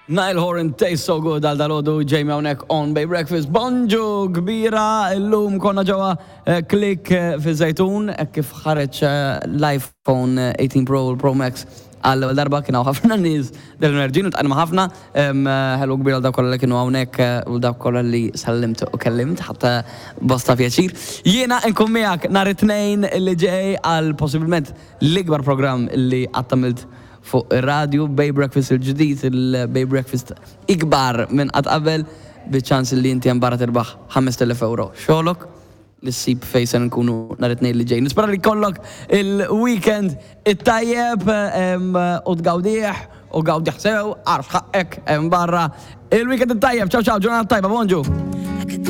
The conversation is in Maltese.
Niall Horan Tastes So Good għal dalgħodu Jamie hawnhekk on Bay Breakfast. Bonġu kbira illum konna ġewwa eh, Click eh, fi Żejtun hekk kif ħareġ eh, l-iPhone 18 Pro u l-Pro Max għall ewwel darba kien hawn ħafna nies del-enerġin u tqajna ħafna. Ħelu kbira għal dawk kollha li kienu hawnhekk u dawk kollha li sellimt u kellimt ħadd bosta pjaċir. Jiena nkun miegħek nhar it-Tnejn li ġej għal possibilment l-ikbar programm li qatt għamilt Fuq ir-radju, Bay Breakfast il-ġdid, il-Bay Breakfast ikbar minn qatt qabel, biċ-ċans li inti hemm barra tirbaħ 5,000 ewro. Xogħlok li ssib fejn se nkunu nhar it-Tnejn li ġej. Nispera li jkollok il-weekend it-tajjeb u tgawdih u gawdih sew għax ħaqqek hemm barra. Il-weekend it-tajjeb, ciao ciao, ġurnata tajba, bonġu!